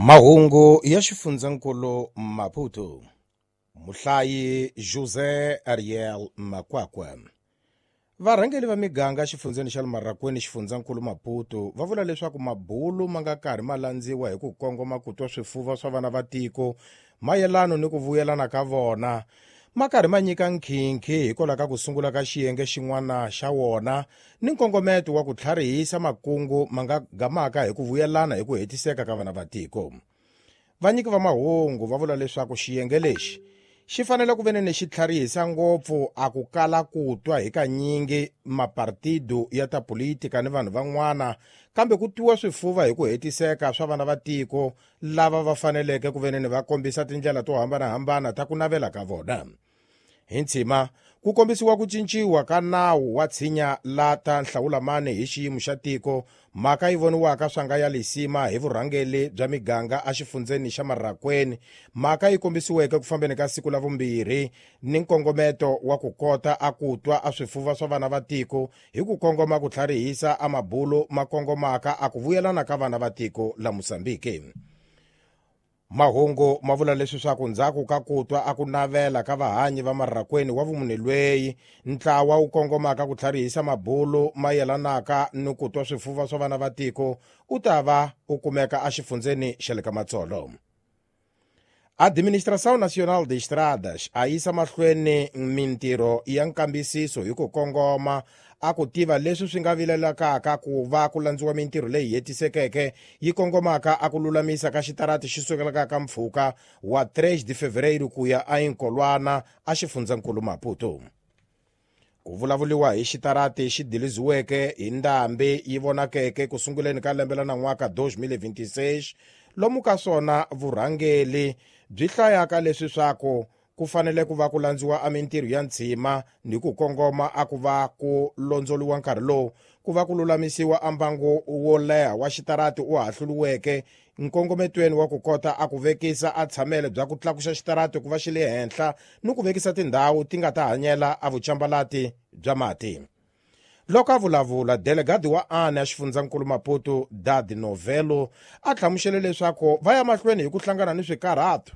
Mahungu ya xifundzankulu Maputo. Muhlayi José Ariel Makwakwa. Varhangeli va miganga exifundzeni xa le Marrakwini xifundzankulu Maputo va vula leswaku mabulu ma nga karhi ma landziwa hi ku kongoma ku twa swifuva swa vana va tiko mayelano ni ku vuyelana ka vona ma karhi ma nyika nkhinkhi hikwalaho ka ku sungula ka xiyenge xin'wana xa wona ni nkongometo wa ku tlharihisa makungu ma nga gamaka hi ku vuyelana hi ku hetiseka ka vana va tiko. Vanyiki va mahungu va vula leswaku xiyenge lexi xi fanele ku ve ni xi tlharihisa ngopfu a ku kala ku twa hi kanyingi mapartido ya ta politika ni vanhu van'wana kambe ku twiwa swifuva hi ku hetiseka swa vana va tiko lava va faneleke ku ve ni va kombisa tindlela to hambanahambana ta ku navela ka vona. Hi ntshima ku kombisiwa ku cinciwa ka nawu wa tshinya la ta nhlawulamani hi xiyimo xa tiko mhaka yi voniwaka swa nga ya lisima hi vurhangeli bya miganga exifundzeni xa Marrakwini mhaka yi kombisiweke ku fambeni ka siku la vumbirhi ni nkongometo wa ku kota a ku twa a swifuva swa vana va tiko hi ku kongoma ku tlharihisa a mabulu ma kongomaka a ku vuyelana ka vana va tiko la Mozambique. Mahungu ma vula leswi swa ku ndzhaku ka ku twa a ku navela ka vahanyi va Marrakwini wa vumune lweyi ntlawa wu kongomaka ku tlharihisa mabulu ma yelanaka ni ku twa swifuva swa vana va tiko u ta va u kumeka exifundzeni xa le ka Matsolo. Administração Nacional de Estradas a yisa mahlweni mintirho ya nkambisiso hi ku kongoma a ku tiva leswi swi nga vilelakaka ku va ku landziwa mintirho leyi hetisekeke yi kongomaka a ku lulamisa ka xitarati xi sukelaka ka mpfhuka wa 3 de fevereiro ku ya eInkolwana exifundzankulu Maputo. Ku vulavuriwa hi xitarati xi diliziweke hi ndhambi yi vonakeke ku sunguleni ka lembe la nan'waka 2026 lomu ka swona vurhangeli byi hlayaka leswi swaku ku fanele ku va ku landziwa a mintirho ya ntshima ni ku kongoma a ku va ku londzoliwa nkarhi lowu ku va ku lulamisiwa a mbangu wo leha wa xitarati u hahluliweke nkongometweni wa ku kota a ku vekisa a tshamele bya ku tlakusa xitarati ku va xi le henhla ni ku vekisa tindhawu ti nga ta hanyela a vucambalati bya mati. Loko a vulavula delegadi wa ANE a xifundzankulu Maputo Dad Novelo a hlamusele leswaku va ya mahlweni hi ku hlangana ni swikarhato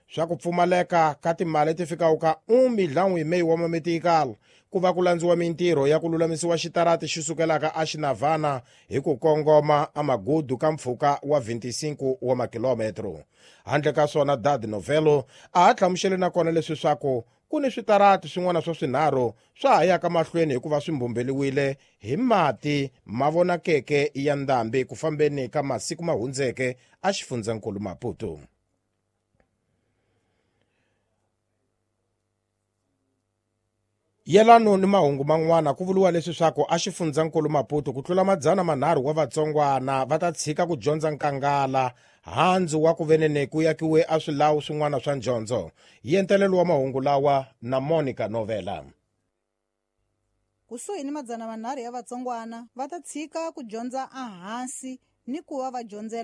swa ku pfumaleka ka timali ti fikaka ka 1 milhão e meio wa mametikal ku va ku landziwa mintirho ya ku lulamisiwa xitarati xi sukelaka exinavhana hi ku kongoma amagudu ka mpfhuka wa 25 wa makilometro. Handle ka swona Dad Novelo a ha hlamusele nakona leswi swaku ku ni switarati swin'wana swa swinharhu swa ha yaka mahlweni hikuva swi mbumbeliwile hi mati ma vonakeke ya ndhambi ku fambeni ka masiku ma hundzeke exifundzankulu Maputo. Yelano ni mahungu man'wana ku vuriwa leswi swaku exifundzankulu Maputo ku tlula 300 wa vatsongwana va ta tshika ku dyondza nkangala handzu wa ku venene ku yakiwe a swilawu swin'wana swa ndyondzo. Yentelelo wa mahungu lawa na Monica Novela. Kusuhi ni 300 ya vatsongwana va ta tshika ku dyondza ehansi ni ku va va dyondzela